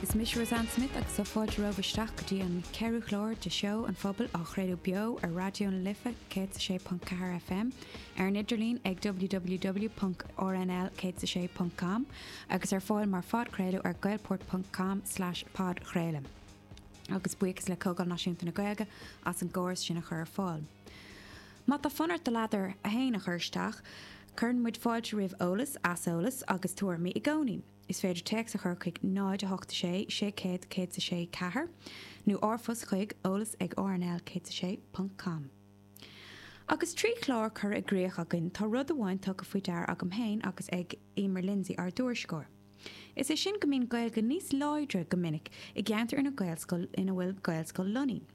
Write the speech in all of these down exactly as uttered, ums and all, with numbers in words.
Is mise Roseanne Smith agus tá fáilte romhaibh isteach go dtí an ceathrú clár de Seó an Phobail á chraoladh beo ar Raidió na Life céad sé ponc ceathair FM ar an idirlíon ag www.rnl céad sé ponc com agus ar fáil mar phodchraoladh ar gaelport.com slash podchraoladh. Agus buíochas le Comhdháil Náisiúnta na Gaeilge as an gcóras sin a chur ar fáil. Má tá fonn ort do ladar féin a chur isteach, cuireann muid fáilte roimh eolas, aiseolas agus tuairimí i gcónaí. Is féidir téacs a chur chuig náid a hocht sé sé céad céad a sé ceathair nó r-phost chuig eolas ag rnl céad sé ponc com. Agus trí chlár curtha i gcrích againn tá rud amháin tugtha faoi deara agam féin agus ag Emer Lindsay ár dtuairisceoir. Is é sin go mbíonn Gaeilge níos láidre go minic i gceantar ina Gaelscoil ina bhfuil Gaelscoil lonnaithe.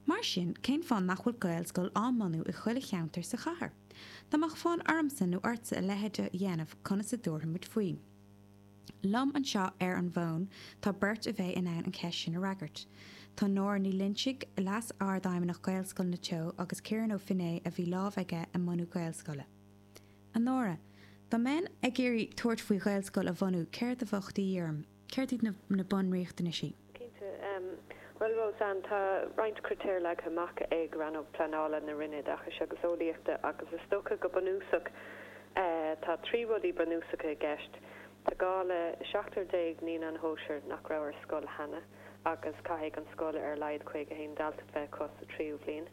Mar sin cén fáth nach bhfuil Gaelscoil á mbunú i chuile cheantar sa chathair. Dá mbeadh fonn ormsa nó ortsa a leithéid a dhéanamh conas a dtabharfaidh muid faoi. Liom anseo ar an bhfón tá beirt a bheidh in ann an cheist sin a fhreagairt. Tá Nóra Ní Loinsigh Leas-Ardfheidhmeannach Gaelscoileanna Teo agus Ciarán Ó Finné a bhí lámh aige i mbunú Gaelscoile. A Nóra, Dá mbeinn ag iarraidh tabhairt faoi Ghaelscoil a bhunú céard a bheadh de dhíth orm, céard iad na, na bunriachtanaisí. Cinnte Well Roseanne tá roinnt critéir leagtha amach ag rannóg pleanála na Roinne Oideachais agus Eolaíochta agus is dócha go bunúsach tá trí rudaí bunúsacha i gceist. Tá gá le seachtar déag naíonán shóisir nach raibh ar scoil cheana agus caithfidh an scoil ar a laghad caoga haon dalta bheith acu sa tríú bhliain.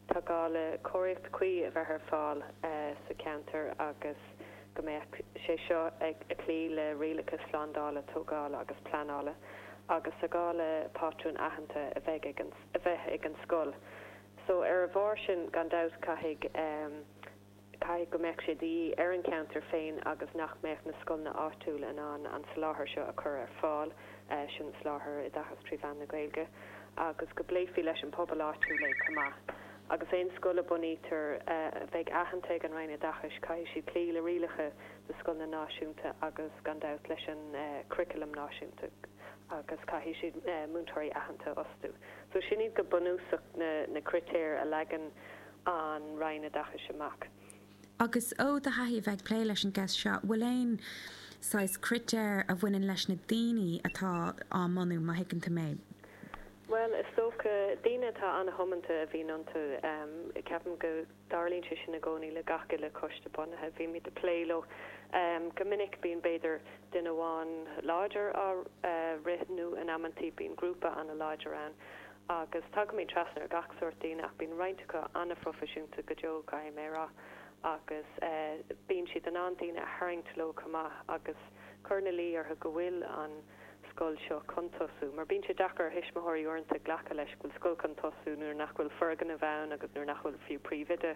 Tá gá le cóiríocht chuí a bheith ar fáil sa cheantar agus go mbeadh sé seo ag cloí le rialacha slándála tógála agus pleanála agus tá gá le pátrún aitheanta a bheith ag an a bheith ag an scoil. So ar a bharr sin gan dabht caithfidh um, caithfidh go mbeadh sé de dhíth ar an cheantar féin agus nach mbeadh na scoileanna áitiúla in ann an soláthar seo a chur ar fáil sin soláthar oideachas trí mheán na Gaeilge agus go bpléifí leis an pobal áitiúil é chomh maith. Agus aon scoil a bunaítear a bheidh aitheanta ag an Roinn Oideachais caithfidh siad cloí le rialacha na scoileanna náisiúnta agus gan dabht leis an curriculum náisiúnta agus caithfidh siad múinteoirí aitheanta a fhostú. So sin iad go bunúsach na, na critéir a leagann an Roinn Oideachais amach. Agus ó do thaithí bheith ag plé leis an gceist seo, bhfuil aon saghas critéir a bhaineann leis na daoine atá á mbunú má thuigeann tú mé. Well is dócha daoine atá an-tiomanta a bhíonn iontu um, ceapaim go dtarlaíonn sé sin i gcónaí le gach uile choiste bunaithe bhí mé ag plé leo. Um, go minic bíonn b'fhéidir duine amháin láidir á uh, rith nó in amantaí bíonn grúpa an-láidir ann. agus tagaimid trasna ar gach sórt daoine ach bíonn roinnt acu an-phroifisiúnta go deo caithfidh mé a rá. agus uh, bíonn siad in ann daoine a tharraingt leo chomh maith agus cur ina luí orthu go bhfuil an scoil seo chun tosú, mar bíonn sé deacair ar thuismitheoirí uaireanta glacadh leis go bhfuil scoil chun tosú nuair nach bhfuil foirgneamh ann agus nuair nach bhfuil fiú príomhoide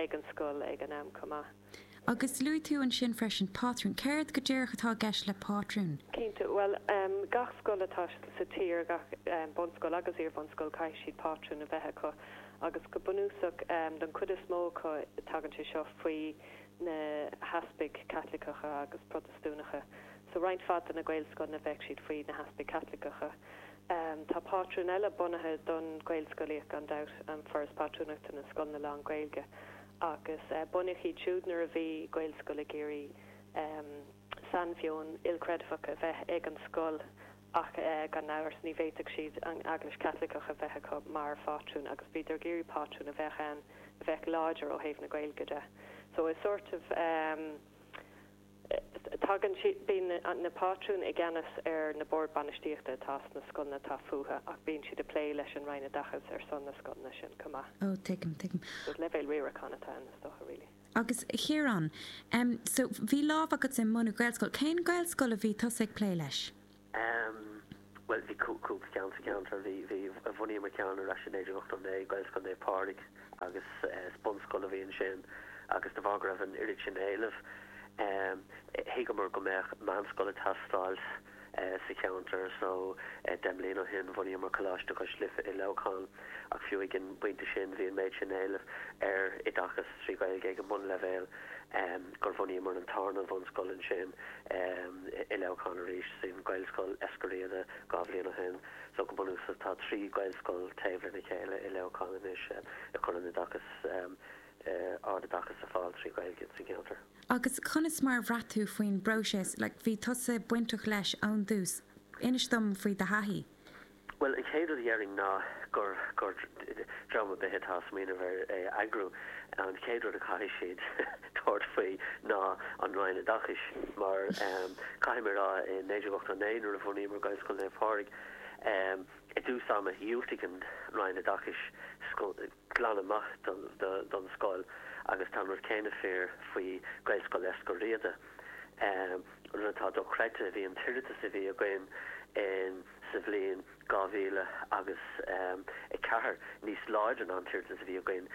ag an scoil ag an am chomh maith. Agus luaigh tú ansin freisin pátrún, céard go díreach atá i gceist le pátrún? Cinnte well um, gach scoil atá sa tír gach um, bunscoil agus iar-bhunscoil caithfidh siad pátrún a bheith acu agus go bunúsach um, don chuid is mó acu tagann sé seo faoi na heaspaig Caitliceacha agus Protastúnacha. So roinnt mhaith de na Gaelscoileanna bheadh siad faoi na heaspaig Caitliceacha. Um, tá pátrún eile bunaithe don Ghaelscolaíocht gan dabht an Foras Pátrúnachta na Scoileanna Lán-Ghaeilge agus uh, bunaíodh iad siúd nuair a bhí Gaelscoil ag iarraidh um, sainmheon ilchreidmheach a bheith ag an scoil ach uh, gan amhras ní bhféadfadh siad an Eaglais Chaitliceach a bheith acu mar phátrún agus bhíodar ag iarraidh pátrún a bheith ann a bheith láidir ó thaobh na Gaeilge de. So is sort of um, tagann bíonn na pátrúin i gceannas ar na boird bainistíochta atá sna scoileanna atá fúthu ach bíonn siad ag plé leis an Roinn Oideachais ar son na scoileanna sin chomh maith. Ó tuigim tuigim. So leibhéal riaracháin atá ann is dócha really. Agus a Chiaráin, um, so bhí lámh agat i mbunú Gaelscoil, cén Gaelscoil a bhí tusa ag plé leis? Um, well bhí cúpla ceann sa cheantar bhí bhí bhunaíomar ceann ar ais in naoi déag ochtó naoi Gaelscoil Naomh Pádraig agus uh, bunscoil a bhí ansin agus de bharr go raibh an oiread sin éilimh. Um, thuigeamar go mbeadh meánscoil ag teastáil uh, sa cheantar so uh, deich mbliana ó shin bhunaíomar Coláiste Cois Life i Leamhcán ach fiú ag an bpointe sin bhí an méid sin éilimh ar oideachas trí Ghaeilge ag an mbunleibhéal um, gur bhunaíomar an tarna bhunscoil ansin um, i Leamhcán arís sin Gaelscoil Eiscir Riada dhá bhliain ó shin so go bunúsach tá trí Gaelscoil taobh lena chéile i Leamhcán anois uh, ag cur an oideachas um, uh, ardoideachas ar fáil trí Ghaeilge sa cheantar. Agus conas mar a bhraith tú faoin bpróiseas, like, bhí tusa bainteach leis ón dtús. Inis dom faoi do thaithí. Well, an chéad rud a déarfainn ná gur gur dream ar bith atá ag smaoineamh ar é a eagrú, an chéad rud a chaithfidh siad tabhairt faoi ná an Roinn Oideachais mar caithfidh mé a rá i naoi déag ochtó naoi nuair a bhunaíomar Gaelscoil Naomh Pádraig i dtús ama dhiúltaigh an Roinn Oideachais glan amach don scoil agus tá an rud céanna fíor faoi Gaelscoil Eiscir Riada. An rud atá dochreidte, bhí an t-iarratas a bhí againn in sa bhliain dhá mhíle agus a ceathair níos láidre ná an t-iarratas a bhí againn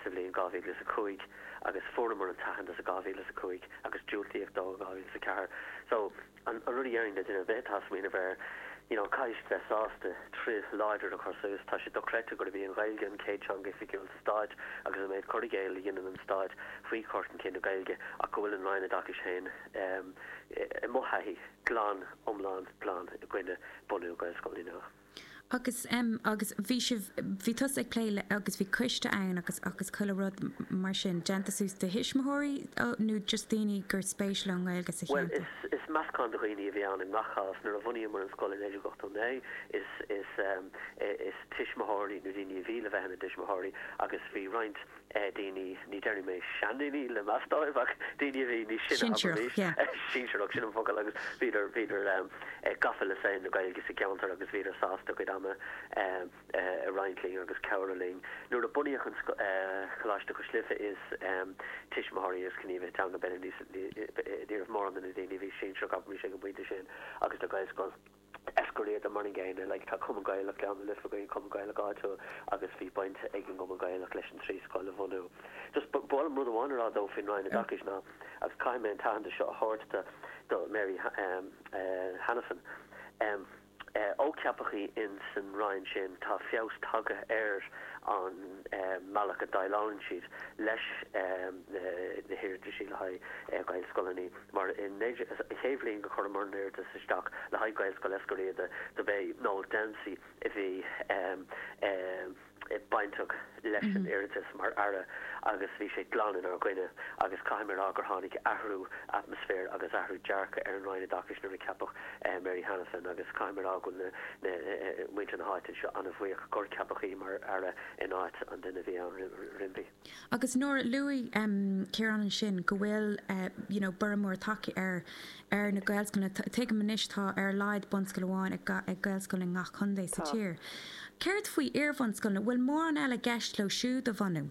sa bhliain dhá mhíle is a cúig agus fuaireamar an t-aitheantas i dhá mhíle is a cúig agus diúltaíodh dó i dhá mhíle is a ceathair. So, an rud a dhéarfainn le duine ar bith atá ag smaoineamh air, you know, caithfidh siad bheith sásta troid láidir a chur suas. Tá sé dochreidte gurb í an Ghaeilge an chéad teanga oifigiúil sa Stát agus an méid cur i gcéill a dhéanann an Stát faoi chur chun cinn na Gaeilge ach go bhfuil an Roinn Oideachais féin, i mo thaithí, glan, iomlán glan i gcoinne bunú Gaelscoileanna nua. Agus em agus bhí sibh, bhí tusa ag plé le, agus bhí coiste ann agus agus chuile rud mar sin, déanta suas de thuismitheoirí nó just daoine gur spéis leo an Ghaeilge sa Bhuel, cheantar? is, is meascán de dhaoine a bhí ann i ngach cás. Nuair a bhunaíomar an scoil i naoi déag ochtó naoi, is, is em, is tuismitheoirí nó daoine a bhí le bheith ina dtuismitheoirí agus bhí roinnt daoine, ní déarfaidh mé seandaoine le meas dóibh, ach daoine a bhí níos sine, Sinsearach, yeah. Sinsearach, sin an focal, agus bhíodar, bhíodar gafa le saol na Gaeilge sa gceantar agus bhíodar sásta a gcuid ama a roinnt linn agus cabhrú linn. Nuair a bunaíodh an Coláiste Cois Life is tuismitheoirí agus gníomhaithe teanga b'fhéidir níos, ní raibh mórán de na daoine a bhí sinsearach, abraimis, ag an bpointe sin agus le Gaelscoil. Eiscir Riada mar an gcéanna, like tá Cumann Gaelach Ghleann na Life againn, Cumann Gaelach áitiúil agus bhí baint ag an gCumann Gaelach leis an trí scoil a bhunú. Just ba mhaith liom rud amháin a rá though faoin Roinn Oideachais ná, agus caithfidh mé an t-aitheantas seo a thabhairt do do Mary Hanafin, em ó ceapadh í in san Roinn sin tá feabhas tagtha ar an mbealach a dhéileálann siad leis na hiarrataisí le haghaidh Gaelscoileanna mar in an chéad bhliain go chuireamar an iarratas isteach le haghaidh Gaelscoil Eiscir Riada dob é Noel Dempsey a bhí bainteach leis an iarratas mar Aire agus bhí sé glan inár gcoinne agus caithfidh mé a rá gur tháinig athrú atmaisféir agus athrú dearcadh ar an Roinn Oideachais nuair a ceapadh Mary Hanafin agus caithfidh mé a rá go bhfuil na muintir na háite seo an-bhuíoch gur ceapadh í mar Aire in áit an duine a bhí ann roimpi. Agus nuair a luaigh Ciarán ansin go bhfuil you know borradh mór tagtha ar ar na Gaelscoileanna, tuigim anois tá ar a laghad bunscoil amháin ag Gaelscoil i ngach contae sa tír. Céard faoi iarbhunscoileanna, bhfuil mórán eile i gceist leo siúd a bhunú?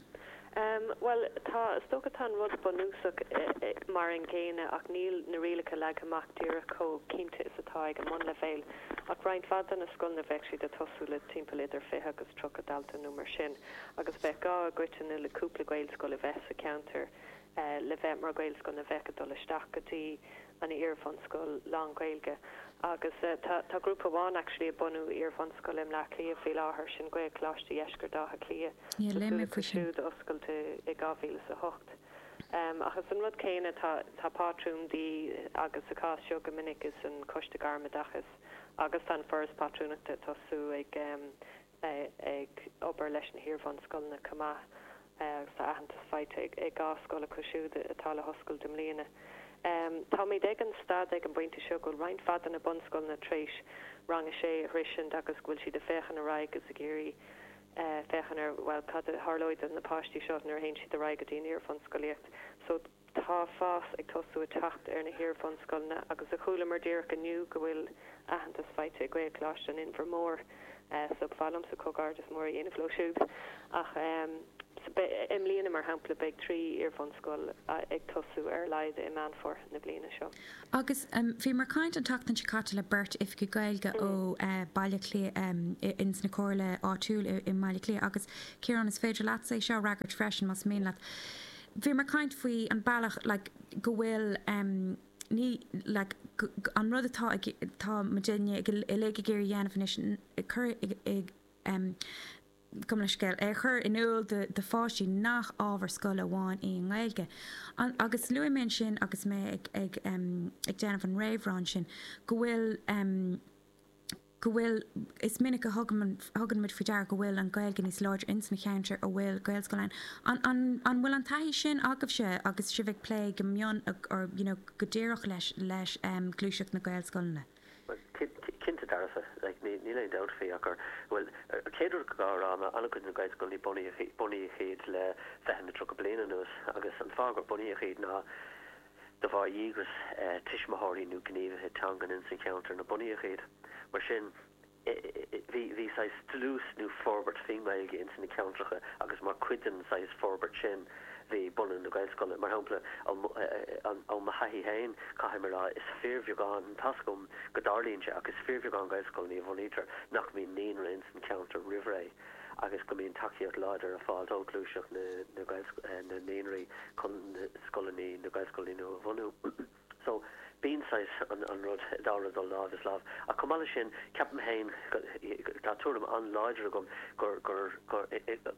Bhuel, tá, is dócha tá an rud bunúsach mar an gcéanna ach níl na rialacha leagtha amach díreach chomh cinnte is atá ag an mbunleibhéal. Ach roinnt mhaith de na scoileanna bheadh siad ag tosú le timpeall idir fiche agus tríocha dalta nó mar sin agus bheadh gá i gcoitinne le cúpla Gaelscoil a bheith sa cheantar le bheith mar Ghaelscoil a bheadh ag dul isteach go dtí an iarbhunscoil lán-Ghaeilge agus tá tá grúpa amháin actually ag bunú iarbhunscoil i mBleá Cliath faoi láthair, sin Gaelcholáiste Dheisceart Átha Cliath, Yeah, tá léigh súil mé acu faoi sin. siúd oscailt i dhá mhíle is a hocht. Ach is an rud céanna, tá tá pátrún de dhíth agus sa chás seo go minic is an Coiste Gairmoideachais agus tá an Foras Pátrúnachta ag tosú ag ag obair leis na hiarbhunscoileanna chomh maith agus tá aitheantas faighte ag dhá scoil acu siúd atá le hoscailt i mbliana. Táimid ag an staid ag an bpointe seo go bhfuil roinnt mhaith de na bunscoileanna tar éis rang a sé a shroisint agus go bhfuil siad ag féachaint ar aghaidh agus ag iarraidh féachaint ar, bhuel, cad a tharlóidh do na páistí seo nuair a théann siad ar aghaidh go dtí an iarbhunscolaíocht. So tá fás ag tosú ag teacht ar na hiarbhunscoileanna agus a chualamar díreach inniu go bhfuil aitheantas faighte ag Gaelcholáiste an Inbhir Mhóir so ba mhaith liomsa comhghairdeas mór a dhéanamh leo siúd. Ach i mbliana, mar shampla, beidh trí iarbhunscoil ag tosú ar a laghad i Meán Fómhair na bliana seo. Agus bhíomar ag caint an tseachtain seo caite le beirt oifigigh Gaeilge ó Baile Átha Cliath ins na comhairle áitiúil i mBaile Átha Cliath agus Ciarán is féidir leatsa é seo a fhreagairt freisin más mian leat. Bhíomar ag caint faoi an bealach like go bhfuil ní like an rud atá ag tá muidinne uilig ag iarraidh a dhéanamh anois cur i gabh mo leithscéal, é a chur in iúl do do pháistí nach ábhar scoile amháin í an Ghaeilge. An agus luaigh mé ansin agus mé ag ag ag déanamh an réamhrá ansin go bhfuil go bhfuil, is minic a thugann thugann muid faoi deara go bhfuil an Ghaeilge níos láidre ins na ceantair a bhfuil Gaelscoil ann. An an an bhfuil an taithí sin agaibhse agus sibh ag plé go mion or you know go díreach leis leis gluaiseacht na Gaelscoileanna? Cinnte dearfa like ní níl aon dabht faoi ach gur bhuel an chéad rud go rá ná an-chuid na Gaelscoileanna bunaíodh bunaíodh iad le fiche nó tríocha bliain anuas agus an fáth gur bunaíodh iad ná de bharr dhíograis tuismitheoirí nó gníomhaithe teangan in san cheantar a bunaíodh iad mar sin bhí bhí saghas dlús nó forbairt faoin nGaeilge ins na ceantracha agus mar chuid den saghas forbairt sin bhí bunú na Gaelscoile mar shampla ó mo thaithí féin caithfidh mé a rá is fíorbheagán tá a fhios agam go dtarlaíonn sé ach is fíorbheagán Gaelscoileanna a bhunaítear nach mbíonn naíonra ins an ceantar roimh ré agus go mbíonn tacaíocht láidir ar fáil ó ghluaiseacht na na na naíonraí chun na scoileanna na Gaelscoileanna nua a bhunú. So bíonn saghas an an rud dá rud dul lámh is lámh. Ach chomh maith leis sin ceapaim féin tá tuairim an-láidir agam gur gur gur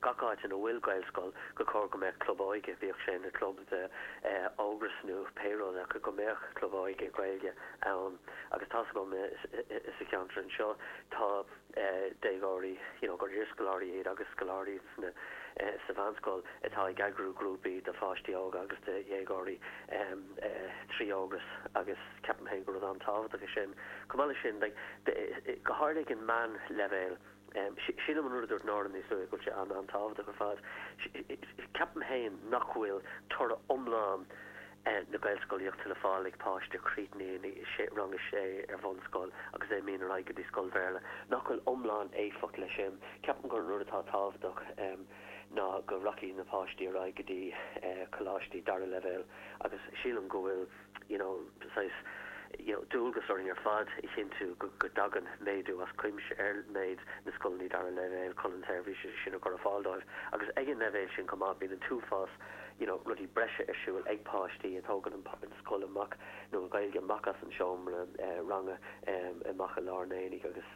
gach áit ina bhfuil Gaelscoil gur chóir go mbeadh club óige bíodh sé ina club de Ógras nó pé rud ach go mbeadh club óige Gaeilge ann agus tá a fhios agam sa cheantar anseo tá déagóirí you know gur iarscoláirí iad agus scoláirí sna sa mheánscoil atá ag eagrú grúpaí de pháistí óga agus de dhéagóirí trí Ógras agus ceapaim féin gur rud an-tábhachtach é sin. Chomh maith leis sin like go háirithe ag an meánleibhéal sílim an rud a dúirt Nóra níos luaithe go bhfuil sé an-an-tábhachtach ar fad. Ceapaim féin nach bhfuil toradh iomlán na Gaelscolaíochta le fáil ag páiste a chríochnaíonn rang a sé ar bhunscoil agus é imíonn ar aghaidh go dtí scoil Bhéarla, nach bhfuil iomlán éifeacht leis sin. Ceapaim gur an rud atá tábhachtach ná go rachaidh na páistí ar aghaidh go dtí coláistí dara leibhéal agus sílim go bhfuil you know saghas you know dualgas orainn ar fad a chinntiú go go dtagann méadú as cuimse ar méid na scoileanna dara leibhéal chun an tseirbhís sin a chur ar fáil dóibh agus ag an leibhéal sin chomh maith bíonn an t-uafás you know rudaí breise ar siúl ag páistí a tógann an an scoil amach nó an Ghaeilge amach as an seomra ranga amach i lár an aonaigh agus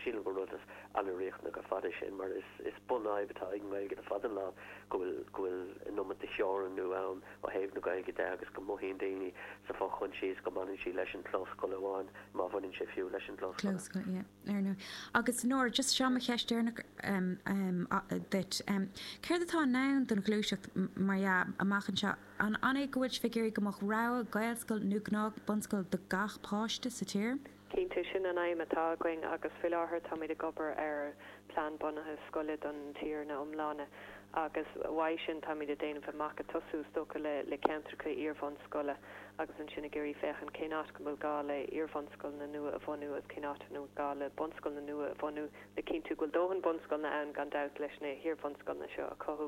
sílim gur rud an-riachtanach ar fad é sin mar is is bunfhadhb atá ag an nGaeilge le fada an lá go bhfuil go bhfuil an iomad de theorannú ann ó thaobh na Gaeilge de agus go mothaíonn daoine sa fho-choinsias go mbaineann sí leis an gclós scoile amháin má bhaineann sé fiú leis an gclós scoile. Clós scoile, yeah, ar ndóigh. Agus Nóra, just seo mo cheist deireanach um, um, duit. Um, céard atá i ndán don ghluaiseacht mar dhea amach anseo? An an é go bhfuil sibh ag iarraidh go mbeadh rogha Gaelscoil nó gnáth bunscoil do gach páiste sa tír? Cinnte sin an aidhm atá againn agus faoi láthair táimid ag obair ar plean bunaithe scoile don tír ina iomláine agus uaidh sin táimid ag déanamh amach ag tosú is dócha le le ceantracha iarbhunscoile agus ansin ag iarraidh féachaint cén áit go bhfuil gá le iarbhunscoileanna nua a bhunú agus cén áit a bhfuil gá le bunscoileanna nua a bhunú le cinntiú go bhfuil dóthain bunscoileanna ann gan dabht leis na hiarbhunscoileanna seo a chothú.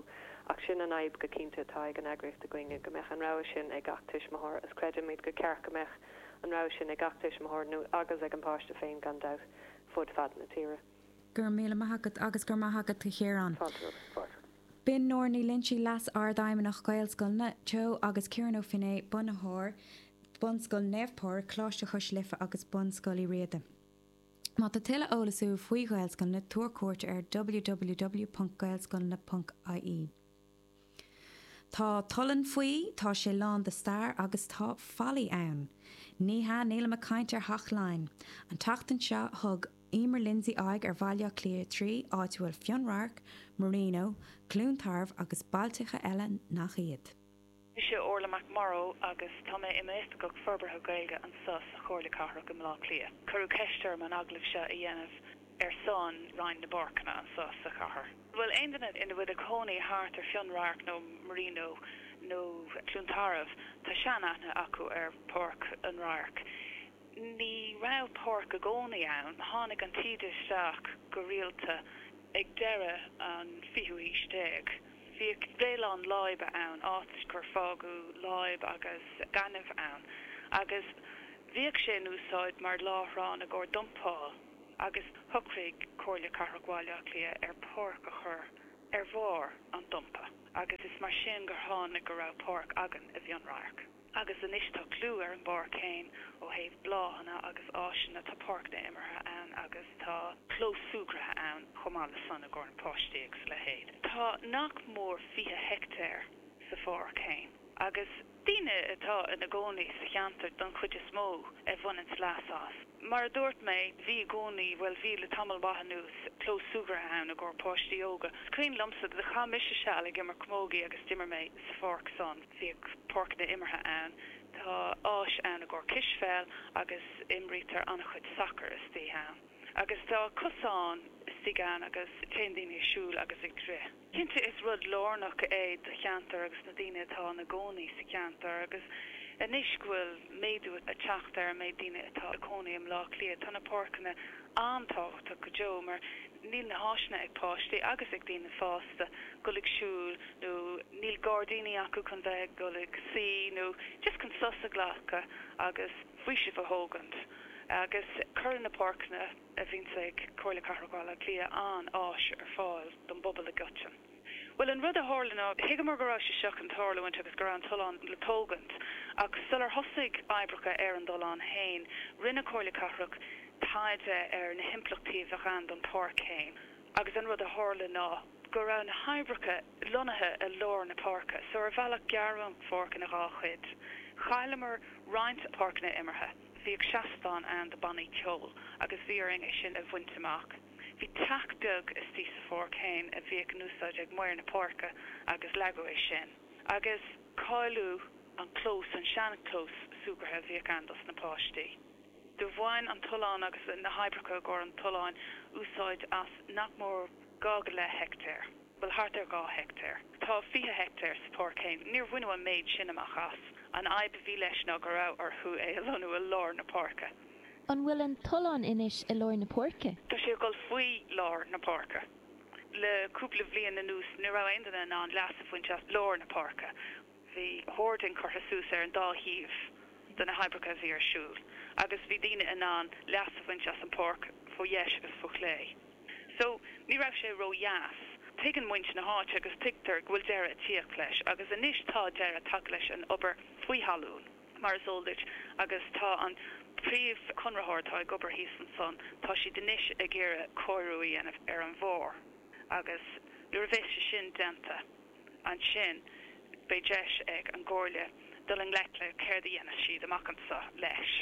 Ach sin an aidhm go cinnte atá ag an eagraíocht againne go mbeadh an rogha sin ag gach tuismitheoir is creidimid gur ceart go mbeadh an rogha sin ag gach tuismitheoir nó agus ag an páiste féin gan dabht fud fad na tíre. Go raibh míle maith agat agus go raibh maith agat a Chiaráin. Fáilte romhat. B'in Nóra Ní Loingsigh Leas-Ardfheidhmeannach Gaelscoileanna Teo agus Ciarán Ó Finneadha bunaitheoir Bunscoil Naomh Pádraig, Coláiste Chois Life agus Bunscoil Uí Riada. Má tá tuilleadh eolais uait faoi Ghaelscoileanna tabhair cuairt ar www.gaelscoileanna.ie. Tá Tollan faoi, tá sé lán de stair agus tá fallaí ann. Ní hea nílim ag caint ar Theach Laighean. An tseachtain seo thug Emer Lindsay aghaidh ar Bhaile Átha Cliath trí, áit a bhfuil Fionnradharc, Marino, Cluain Tarbh agus bailteacha eile nach iad. Mise Orla McMorrow agus tá mé i m'oifigeach forbartha Gaeilge anseo sa Chomhairle Cathrach i mBleá Cliath. Cuireadh ceist orm an agallamh seo a dhéanamh ar son Roinn na bPáirceanna anseo sa chathair. Bhfuil aon duine ina bhfuil cónaí thart ar Fionnradharc nó Marino nó Cluain Tarbh tá seanaithne acu ar Pháirc an Radhairc. Ní raibh páirc i gcónaí ann, tháinig an taoide isteach go rialta ag deireadh an fichiú haois déag. Bhíodh réileán láibe ann, áit gur fágadh láib agus gaineamh ann, agus bhíodh sé in úsáid mar láithreán i gcomhair dumpáil agus shocraigh Comhairle Cathrach Bhaile Átha Cliath ar pháirc a chur ar bharr an dumpa, agus is mar sin gur tháinig go raibh páirc againn i bhFionnradharc. Agus anois tá clú ar an bpáirc féin ó thaobh bláthanna agus áiseanna, tá páirceanna imeartha ann agus tá clós súgartha ann chomh maith le san i gcomhair na páistí agus a leithéid. Tá nach mór fiche heicteár sa pháirc féin agus daoine atá ina gcónaí sa cheantar don chuid is mó a bhaineanns leas as. Mar a dúirt mé, bhí i gcónaí, bhuel bhí le tamall maith anuas, clós súgartha ann i gcomhair páistí óga. Is cuimhin liomsa do chaith mise seal ag imirt camógaí agus d'imir mé sa pháirc san. Bhíodh páirceanna imeartha ann, Tá áis ann i gcomhair cispheil agus imrítear an-chuid sacar istigh ann. Agus tá cosán istigh ann agus téann daoine ag siúl agus ag rith. Cinnte is rud lárnach é do cheantar agus na daoine atá ina gcónaí sa cheantar agus anois go bhfuil méadú ag teacht ar an méid daoine atá ag cónaí i mBleá Cliath tá na páirceanna an-tábhachtach go deo mar níl na háiseanna ag páistí agus ag daoine fásta dul ag siúl nó níl gairdíní acu chun bheith ag dul ag suí nó just chun sos a ghlacadh agus faoiseamh a thógaint. Agus cuireann na páirceanna a bhíonn ag Comhairle Cathrach Bhaile Átha Cliath an-áis ar fáil don bpobal i gcoitinne. Well an rud a tharla ná thuigeamar go raibh sé seo chun tarlúint agus go raibh an tollán le tógaint, ach sular thosaigh oibreacha ar an dtollán féin, rinne Comhairle Cathrach taighde ar na himpleachtaí a bheadh ann don pháirc féin. Agus an rud a tharla ná go raibh na hoibreacha lonnaithe i lár na páirce, so ar bhealach gearradh an pháirc ina dhá chuid. Chailleamar roinnt páirceanna imeartha. Bhíodh seastán ann do bannaí ceoil agus bhí orainn é sin a bhaint amach. Bhí teach beag istigh sa pháirc féin a bhíodh in úsáid ag maor na páirce agus leagadh é sin. Agus cailleadh an clós an seanchlós súgartha a bhíodh ann dos na páistí. Do bhain an tollán agus na hoibreacha i gcomhair an tolláin úsáid as nach mór dhá go leith heicteár. Well thart ar dhá heicteár. Tá fiche heicteár sa pháirc féin, níor bhaineadh an méid sin amach as. An fhadhb a bhí leis ná go raibh orthu é a lonnú i lár na páirce. An bhfuil an tollán anois i lár na páirce? Tá sé ag dul faoi lár na páirce. Le cúpla bliain anuas ní raibh aon duine in ann leas a bhaint as lár na páirce. Bhí hoarding curtha suas ar an dá thaobh de na hoibreacha a bhí ar siúl, agus bhí daoine in ann leas a bhaint as an pháirc fó dheis agus fó chlé. So ní raibh sé ródheas. Tuigeann muintir na háite agus tuigtear go bhfuil deireadh ag tíocht leis, agus anois tá deireadh tagtha leis an obair faoi thalamh mar is eol duit agus tá an príomhchonraitheoir atá ag obair thíos ansan, tá siad anois ag iarraidh cóiriú a dhéanamh ar an bharr. Agus nuair a bheas sé sin déanta, ansin beidh deis ag an gComhairle dul i ngleic le céard a dhéanfas siad amach anseo leis.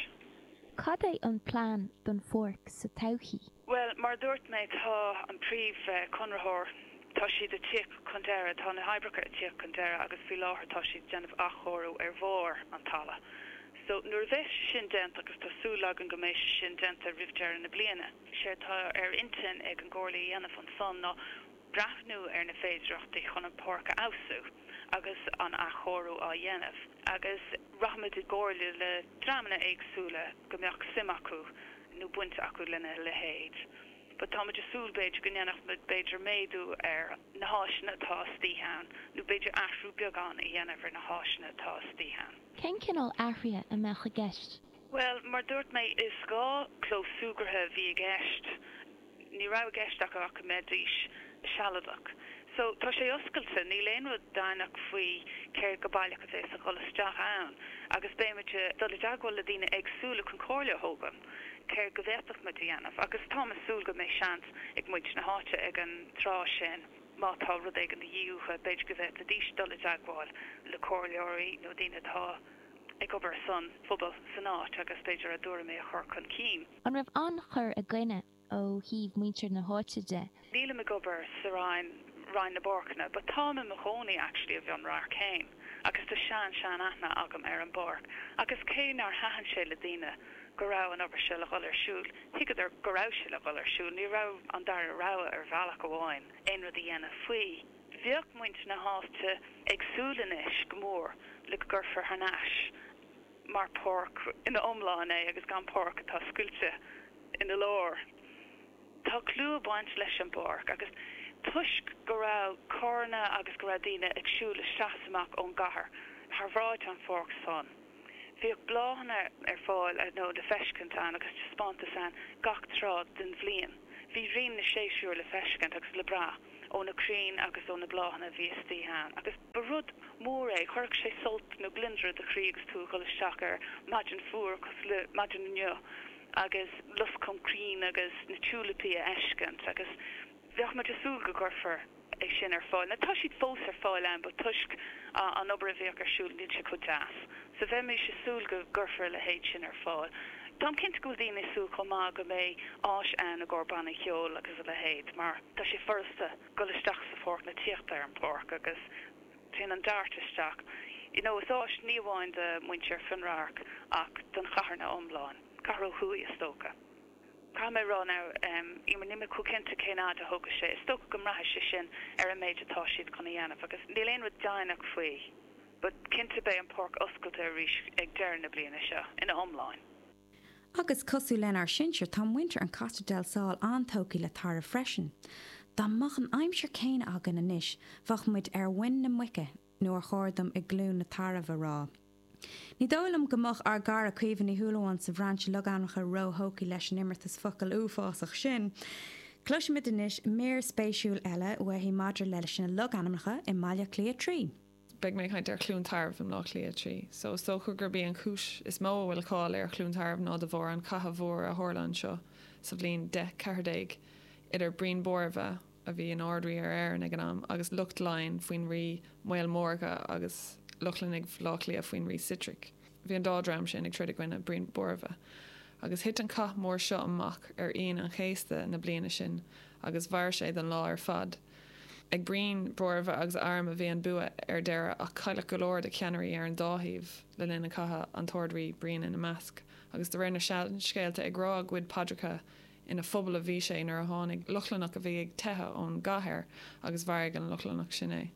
Cad é an plean don pháirc sa todhchaí? Well, mar a dúirt mé tá an príomhchonraitheoir tá siad ag tíocht chun deireadh, tá na hoibreacha ag tíocht chun deireadh agus faoi láthair tá siad ag déanamh athchóiriú ar bharr an talaimh. So nuair a bheas sé sin déanta agus tá súil againn go mbeidh sé sin déanta roimh deireadh na bliana. Sé tá ar intinn ag an gComhairle a dhéanamh ansan ná breathnú ar na féidearthachtaí chun an pháirc a fheabhsú agus an athchóiriú á dhéanamh. Agus rachaimid i gcomhairle le dreamanna éagsúla go mbeadh suim acu nó baint acu lena leithéid. But táimid ag súil b'fhéidir go ndéanfadh muid b'fhéidir méadú ar na háiseanna atá istigh ann, nó b'fhéidir athrú beagán a dhéanamh ar na háiseanna atá istigh ann. Cén cineál athruithe a mbeadh i gceist? Well, mar dúirt mé is dhá chlós súgartha a bhí i gceist. Ní raibh i gceist acu ach go mbeidís sealadach. So tá sé oscailte, níl aon rud deimhneach faoi céard go baileach a bheas ag dul isteach ann, agus beimid ag dul i dteagmháil le daoine éagsúla chun comhairle a thógáil céard go bhféadfadh muid a dhéanamh, agus táim ag súil go mbeidh seans ag muintir na háite ag an tráth sin má tá rud éigin de dhíth uathu, b'fhéidir go bhféadfaidís dul i dteagmháil le comhairleoirí nó daoine atá ag obair san phobal san áit agus b'fhéidir a dtuairimí a chur chun cinn. An raibh an-chur i gcoinne ó thaobh muintir na háite de? Nílim ag obair sa Roinn Roinn na bPáirceanna, but táim i mo chónaí actually i bhFionnradharc féin, agus tá sean sean aithne agam ar an bpáirc, agus cé nár thaitin sé le daoine go raibh an obair seo le dhul ar siúl, thuigeadar go raibh sé le dhul ar siúl, ní raibh an dara rogha ar bhealach amháin aon rud a dhéanamh faoi. Bheadh muintir na háite ag súil anois go mór le go gcuirfear thar n-ais mar pháirc ina iomlán é agus gan páirc atá scoilte ina lár. Tá clú ag baint leis an bpáirc agus toisc go raibh carranna agus go raibh daoine ag siúl isteach is amach ón gcathair thar bhráid an pháirc san. Bhíodh bláthanna ar fáil nó le feiscint ann agus taispeántas ann gach tráth den bhliain. Bhí rian na séasúr le feiscint agus le brath ó na crainn agus ó na bláthanna a bhí istigh ann. Agus ba rud mór é, chuirfeadh sé sult nó gliondar i do chroí agus tú ag dul isteach ar maidin fuar cosúil le maidin inniu agus lus com crainn agus na tiúilipí a fheiscint agus bheadh muid ag súil go gcuirfear é sin ar fáil. Now tá siad fós ar fáil ann, but toisc an obair a bhíodh ar siúl níl sé chomh deas. So bheimis ag súil go gcuirfear a leithéid sin ar fáil. Táim cinnte go bhfuil daoine ag súil chomh maith go mbeidh áis ann i gcomhair bannaí ceoil agus a leithéid, mar tá sé furasta dul isteach sa pháirc nó tíocht ar an pháirc agus téann an DART isteach. You know, is áis ní amháin do mhuintir Fionnradharc ach don chathair ina iomlán, cathair ó thuaidh is dócha. Caithfidh mé rá now um, Eimear níl mé chomh cinnte cén fhad a thógfaidh sé, is dócha go mbraithfidh sé sin ar an méid atá siad chun a dhéanamh agus níl aon rud deimhneach faoi. But cinnte beidh an pháirc oscailte arís ag deireadh na bliana seo ina iomlán. Agus cosúil lenár sinsir tá muintir an Costa del Sol an-tógtha le tairbh freisin. Dá mbeadh an aimsir céanna againn anois bheadh muid ar mhuin na muice nó ar chóir dom i gCluain na Tarbh a rá. Ní dóigh liom go mbeadh ár gcara Caoimhe Ní Shúilleabháin sa bhrainse logainmneacha róthógtha leis an imeartas focal uafásach sin. Cloisfimid anois mír spéisiúil eile uaithi maidir leis na logainmneacha i mBaile Átha Cliath trí. Beidh mé ag caint ar Chluain Tarbh i mBaile Átha Cliath trí. So is dócha gurb í an chúis is mó a bhfuil cáil ar Chluain Tarbh ná de bharr an chatha mhór a tharla anseo sa bhliain deich ceathair déag idir Brian Bóramha a bhí ina Ard-Rí ar Éirinn ag an am agus lucht Laighean faoin rí Maol Mórga agus Lochlannaigh Bhaile Átha Cliath faoin rí Sitric. Bhí an dá dream sin ag troid i gcoinne Brian Bóramha. Agus thit an cath mór seo amach ar Aoine an Chéasta na bliana sin agus mhair sé don lá ar fad. Ag Brian Bóramha agus a arm a bhí an bua ar deireadh ach cailleadh go leor de cheannairí ar an dá thaobh le linn an chatha an tArd-Rí Brian ina measc, agus de réir na seanscéalta ag rá a gcuid paidreacha ina phuball a bhí sé nuair a tháinig Lochlannach a bhí ag teitheadh ón gcathair agus mharaigh an Lochlannach sin é.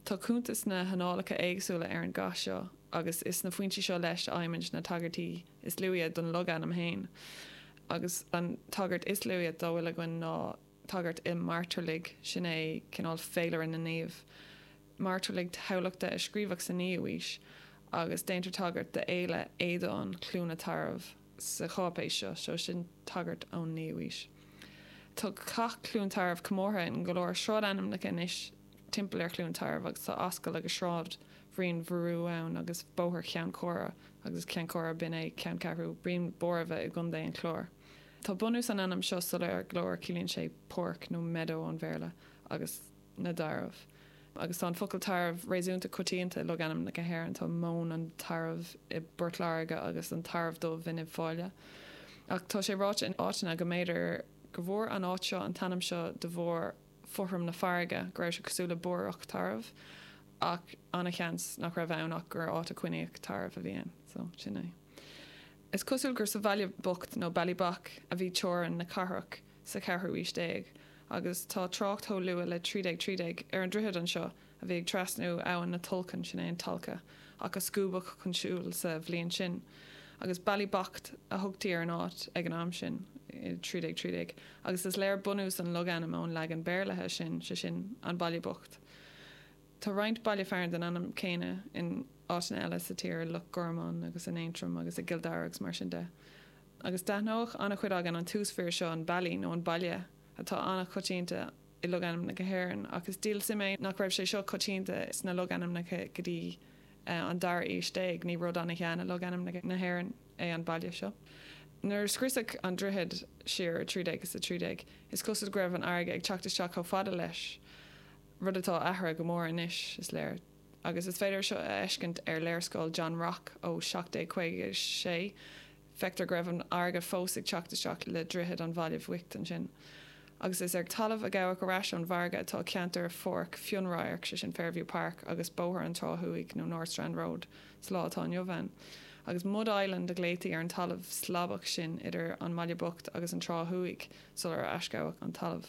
Tá cuntas sna hannálacha éagsúla ar an gcath seo agus is sna foinsí seo leis a fhaighimid na tagairtí is luaithe don logainm féin. Agus an tagairt is luaithe dá bhfuil againn ná tagairt i Mairtearlaigh sin é cineál féilire na naomh. Mairtearlaigh Thamhlachta a scríobhadh sa naoú haois agus déantar tagairt d'fhéile Aodáin Cluana Tarbh sa cháipéis seo, seo sin tagairt ón naoú haois. Tá Cath Chluain Tarbh comórtha in go leor sráidainmneacha anois timpeall ar Chluain Tarbh agus tá ascaill agus Sráid Bhriain Bhorú ann agus Bóthar Cheann Cora agus Ceann Cora b'in é ceanncheathrú Brian Bóramha i gContae an Chláir. Tá bunús an ainm seo soiléir go leor ciallaíonn sé páirc nó meadow an Bhéarla agus na dtarbh. Agus tá an focal tarbh réasúnta coitianta i logainmneacha na hÉireann tá Móin an Tairbh i bPort Láirge agus an Tarbh Dubh in Uíbh Fhailí. Ach tá sé ráite in áiteanna go mb'fhéidir go bhfuair an áit seo an t-ainm seo de bharr fothram na farraige go raibh sé cosúil le bórach tarbh ach an-seans nach raibh ann ach gur áit a coinníodh tarbh a bhí ann, so sin é. Is cosúil gur sa Bhaile Bocht nó Ballybough a bhí teorainn na cathrach sa cheathrú haois déag, agus tá trácht chomh luath le trí déag trí déag ar an droichead anseo a bhí ag trasnú abhainn na Tulchann sin é an Tolka ach a scuabadh chun siúil sa bhliain sin. Agus Ballybocht a thugtaí ar an áit ag an am sin i trí déag trí déag, agus is léir bunús an logainm ón leagan Béarlaithe sin, sé sin an Baile Bocht. Tá roinnt baile fearainn den ainm céanna in áiteanna eile sa tír, Loch Garman agus in Aontroim agus i gCill Dara agus mar sin de. Agus d'aithneodh an-chuid againn an túsmhír seo an Bally nó an Baile atá an-choitianta i logainmneacha hÉireann, ach is díol suime é nach raibh sé seo coitianta sna logainmneacha go dtí an dara haois déag, ní rud an-shean i logainmneacha na hÉireann é an baile seo. Nuair a scriosadh an droichead siar i trí déag is a trí déag, is cosúil go raibh an fharraige ag teacht isteach chomh fada leis, rud atá athraithe go mór anois, is léir. Agus is féidir seo a fheiscint ar léarscáil John Rocque ó seacht déag caoga a sé, feictear go raibh an fharraige fós ag teacht isteach le droichead an Bhaile Bhoicht ansin. Agus is ar talamh a gabhadh ar ais ón bhfarraige atá ceantar Pháirc Fionnradhairc, sé sin Fairview Park, agus Bóthar an Trá Thuaidh nó North Strand Road sa lá atá inniu ann. Agus Mud Island a ghlaotaí ar an talamh slabach sin idir an mBaile Bocht agus an Trá Thuaidh sular aisghabhadh an talamh.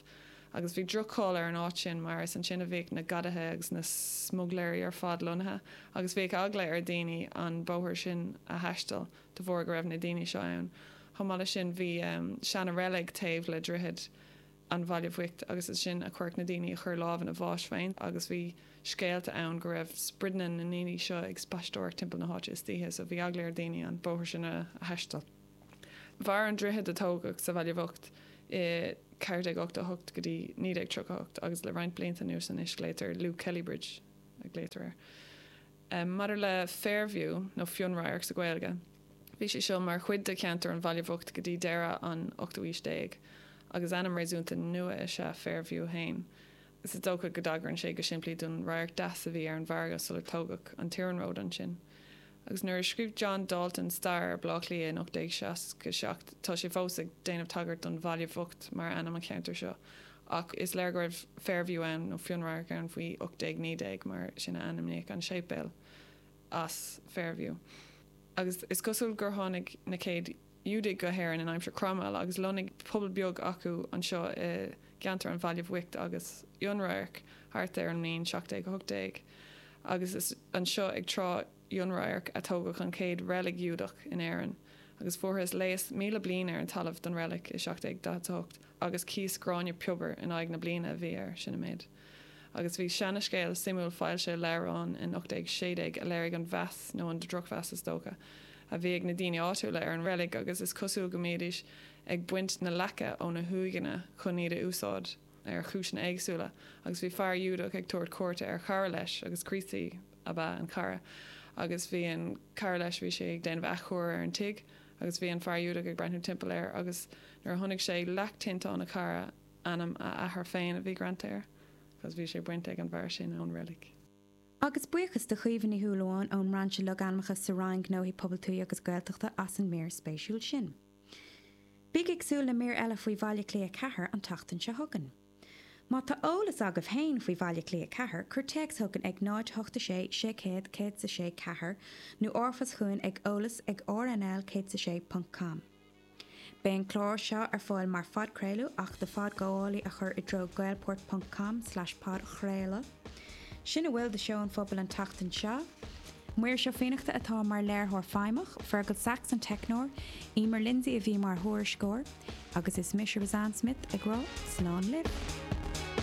Agus bhí droch-cháil ar an áit sin mar is ansin a bhíodh na gadaithe agus na smuigléirí ar fad lonnaithe agus bhíodh eagla ar dhaoine an bóthar sin a thaisteal de bharr go raibh na daoine seo ann. Chomh maith leis sin bhí seana-reilig taobh le droichead an Bhaile Bhoicht agus is sin a chuireadh na daoine a chur lámh ina bháis féin agus bhí scéalta ann go raibh sprideanna na ndaoine seo ag spaisteoireacht timpeall na háite istoíche so bhí eagla ar dhaoine an bóthar sin a thaisteal. Mhair an droichead a tógadh sa Bhaile Bhocht i ceathair déag ochtó a hocht go dtí naoi déag tríocha a hocht agus le roinnt blianta anuas anois glaotar Luke Kelly Bridge a glaotar air. Maidir le Fairview nó Fionnradharc sa Ghaeilge, bhí sé seo mar chuid de cheantar an Bhaile Bhoicht go dtí deireadh an ochtú haois déag agus ainm réasúnta nua is ea Fairview féin. Is dócha go dtagraíonn sé go simplí don radharc deas a bhí ar an bhfarraige sular tógadh an t-iarnród ansin. Agus nuair a scríobh John Dalton stair ar Bhaile Átha Cliath in ocht déag seasca seacht, tá sé fós ag déanamh tagairt don Bhaile Bhocht mar ainm an cheantair seo. Ach is léir go raibh Fairview ann nó Fionnradharc ann faoi ocht déag naoi déag mar sin a ainmníodh an séipéal as Fairview. Agus is cosúil gur tháinig na chéad Iúdaigh go hÉirinn in aimsir Cromwell agus lonnaigh pobal beag acu anseo i gceantar an Bhaile Bhoicht agus Fhionnradhairc thart ar an mbliain seacht déag a hocht déag. Agus is anseo ag Trá Fhionnradhairc a tógadh an chéad reilig Ghiúdach in Éirinn. Agus fuarthas léas míle bliain ar an talamh don reilig i seacht déag daichead a hocht agus cíos gráinne piobair in aghaidh na bliana a bhí air, sin an méid. Agus bhí seanascéal suimiúil foilsithe i leabhrán in ocht déag sé déag a léirigh an mheas, nó an drochmheas is dócha, a bhí ag na daoine áitiúla ar an reilig agus is cosúil go mbídís ag baint na leaca ó na huaigheanna chun iad a úsáid ar chúiseanna éagsúla agus bhí fear Giúdach ag tabhairt cuairte ar chara leis agus Críostaí ab ea an cara agus bhí an cara leis bhí sé ag déanamh athchóir ar an tigh agus bhí an fear Giúdach ag breathnú timpeall air agus nuair a chonaic sé leac tinteáin a chara ainm a athar féin a bhí greanta air agus bhí sé bainte ag an bhfear sin ón reilig. Agus buíochas do Chaoimhe Ní Shúilleabháin ón mBrainse Logainmneacha sa Roinn Gnóthaí Pobail Tuaithe agus Gaeltachta as an mír spéisiúil sin. Bígí ag súil le mír eile faoi Bhaile Átha Cliath ceathair an tseachtain seo chugainn. Má tá eolas agaibh féin faoi Bhaile Átha Cliath ceathair, cuir téacs chugainn ag náid hocht a sé sé céad céad is a sé ceathair nó r-phost chugainn ag eolas ag rnl céad is a sé ponc com. Beidh an clár seo ar fáil mar phodchraoladh ach do phodghabhálaí a chur i dtreo gaelport ponc com slash podchraoladh. Sin a bhfuil de Seó an Phobail an tseachtain seo. Muiris Ó Fiannachta atá mar léiritheoir feidhmeach, Fergal Sachs an teicneoir, Emer Lindsay a bhí mar thuairisceoir, agus is mise Roseanne Smith ag rá slán libh.